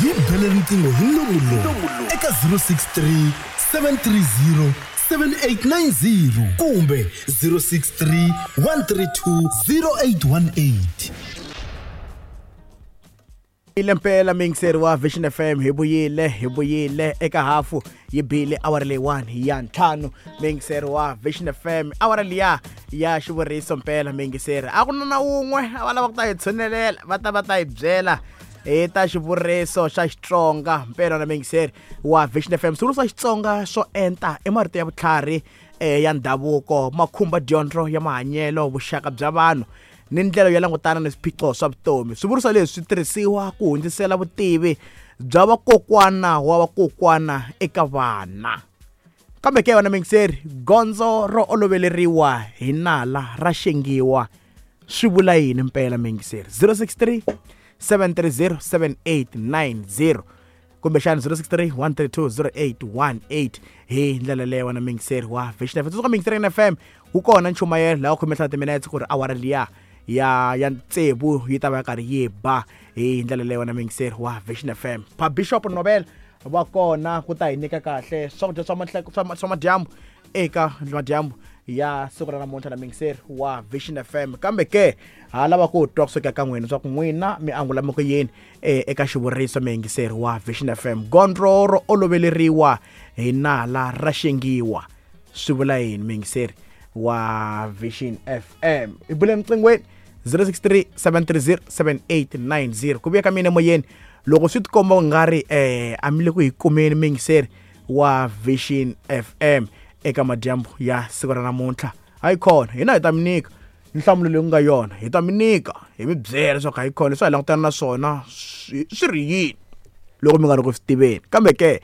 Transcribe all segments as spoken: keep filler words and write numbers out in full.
Hi bele riqingho hi nomu lowu eka zero six three seven three zero seven eight nine zero kumbe zero six three one three two zero eight one eight. Ile mpela miyingiseri wa Vision F M hi vuyile hi vuyile eka hafu yi bile awara leyiwani ya ntlhanu. Miyingiseri wa Vision F M awara liya ya xivuriso mpela miyingiseri a ku na na wun'we a va lava ku ta hi tshunelela va ta va ta hi byela hi ta xivuriso xa Xitsonga mpela na miyingiseri wa Vision F M. Swivuriso swa Xitsonga swo enta i marito ya vutlhari ya ndhavuko ma khumba dyondzo ya mahanyelo, vuxaka bya vanhu ni ndlela yo langutana ni swiphiqo swa vutomi. Swivuriso leswi swi tirhisiwa ku hundzisela vutivi bya vakokwana wa vakokwana eka vana. Kambe ke wena miyingiseri, gondzo ro oloveleriwa hi nala ra xengiwa swi vula yini mpela miyingiseri? zero six three seven three zero seven eight nine zero kumbexana zero six three one three two zero eight one eight hi ndlela leyo wena miyingiseri wa Vision F M. Tsundzuka miyingiseri F M wu kona nchumayelo laha u khome ntlhanu timinetse ku ri awara liya ya ya tsevu yi ta va karhi yi ba hi ndlela leyo wena miyingiseri wa Vision F M. Pa Bishop Nobel va kona ku ta hi nyika kahle swakudya swa mahleko swa madyambu eka madyambu ya siku ra namuntlha na miyingiseri wa Vision F M. Kambe ke ha lava ku twa kusuka ka n'wina swa ku n'wina mi angula mi ku yini eka xivuriso miyingiseri wa Vision F M. Gondzo ro oloveleriwa hi nala ra xengiwa swi vula yini miyingiseri wa Vision F M? I bule emqingweni zero six three seven three zero seven eight nine zero. Ku vuya ka mina emoyeni loko swi tikomba u nga ri eh a mi le ku hi kumeni miyingiseri wa Vision F M eka madyambu ya siku ra namuntlha. Hayi khona hina hi ta mi nyika nhlamulo leyi ku nga yona, hi ta mi nyika hi mi byela leswaku hayi khona leswi hi langutana na swona swi ri yini loko mi nga ri ku swi tiveni. Kambe ke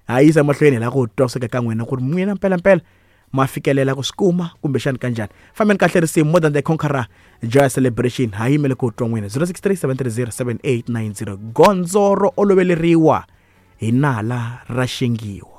ha yisa emahlweni hi lava ku twa kusuka ka n'wina ku ri n'wina mpelampela ma fikelela ku swi kuma kumbexani kanjhani. Fambeni kahle risimu More Than The Conqueror Joy Celebration ha yimele ku twa n'wina zero six three seven three zero seven eight nine zero. Gondzo ro oloveleriwa hi nala ra xengiwa.